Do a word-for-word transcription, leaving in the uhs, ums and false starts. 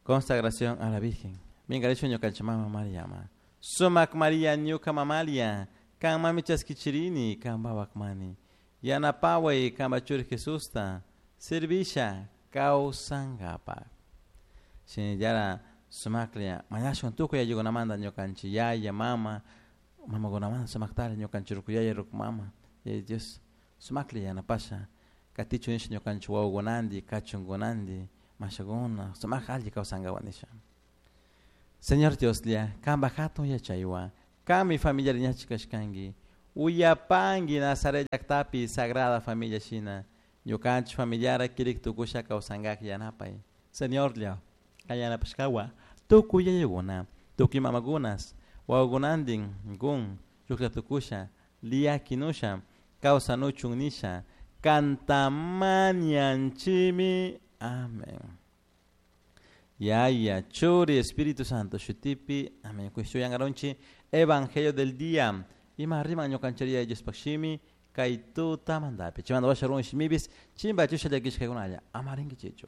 Consagración a la Virgen. Minkarishun ñukanchik mama Mariama. Sumak Maria ñuka mamalia, kan mami chaskichirini, kan mani. Yanapaway kanpa churi Jesusta, servisha kawsankapak. Shinallara sumaklla mañashun tukuy ayllunamanta ñukanchik yaya, mama, mamakunamanta sumaktalla ñukanchik ruku yaya, ruku mama, yaya Dios sumaklla yanapasha katichun nisha ñukanchik wawakunanti, kachunkunanti, mashakuna sumak alli kawsankapak nisha. Señor Dioslla, kanpak hatun yachaywan, kanmi familiar ñachik kashkanki, uyapanki Nazaret llaktapi Sagrada Familia shina, ñukanchik familiara kirik tukusha kawsankak yanapay. Señorlla, kay yanapashkawa tukuy yayakuna, tukuy mamakunas, wawakunantin kun shuklla tukusha, liyakinusha, kawsanuchun nisha, kantamanianchimi. Amén. Yaya, Churi, Espíritu Santo, shutipi, amén. Kushtuyangarunchi, Evangelio del día. Ima riman ñukancharia Diospaj shimi, kay tutamantapi. Chaymanta washa run shimipis, chimba chusha llakishkakunalla, ama rinkichichu.